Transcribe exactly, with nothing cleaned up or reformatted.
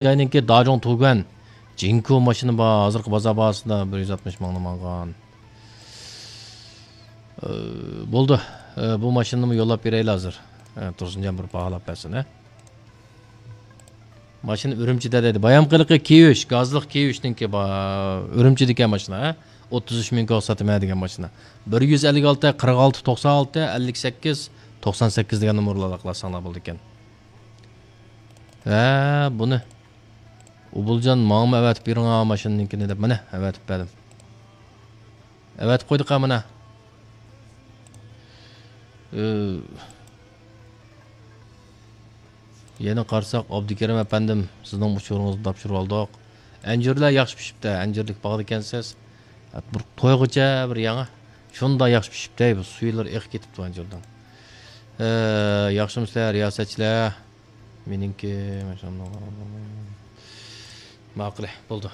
جاينىڭكى داجۇڭ تۇگەن جىنكو ماشىنا بار، ھازىرقى بازار باھاسىدا بىر يۈز ئاتمىش مىڭنى ماڭغان. ئى، بولدى. ئى، بۇ ماشىنىنىمۇ يوللاپ بېرەيلى ھازىر. ئى، تۇرسۇنجان بىر باھالاپ بەرسۇن، ھە؟ ماشىنا ئۈرۈمچىدە دەيدۇ. بايام قېلىقى كىيۈش، گازلىق كىيۈشنىڭكى بار. ئۈرۈمچىدىكەن ماشىنا، ھە؟ ئوتتۇز ئۈچ مىڭ كوي ساتىمەن دېگەن ماشىنا. بىر يۈز ئەللىك ئالتە، قىرىق ئالتە، توقسان ئالتە، ئەللىك سەككىز، توقسان سەككىز دېگەن نومۇرلارنى ئالاقىلاشساڭلار بولىدىكەن. ھە، بۇنى ئوبۇلجان ماڭىمۇ ئەۋەتىپ بېرىڭا ماشىنىنىڭكىنى دەپ، مانا ئەۋەتىپ بەردىم. ئەۋەتىپ قويدۇق ھە مانا. ئى، يەنە قارىساق، ئابدۇكېرىم ئەپەندىم، سىزنىڭ ئۇچۇرىڭىزنى تاپشۇرۇۋالدۇق. ئەنجۈرلەر ياخشى پىشىپتۇ، ئەنجۈرلۈك باغدا ئىكەنسىز. بىر تويغۇچە بىر ياڭى. شۇنداق ياخشى پىشىپتۇ، بۇ سۈيلىرى ئېقىپ كېتىپتۇ ئەنجۈردىن. ئى، ياخشىمۇسىلەر، رىياسەتچىلەر؟ مېنىڭكى، ماشائاللا. ماقۇل، بولدى.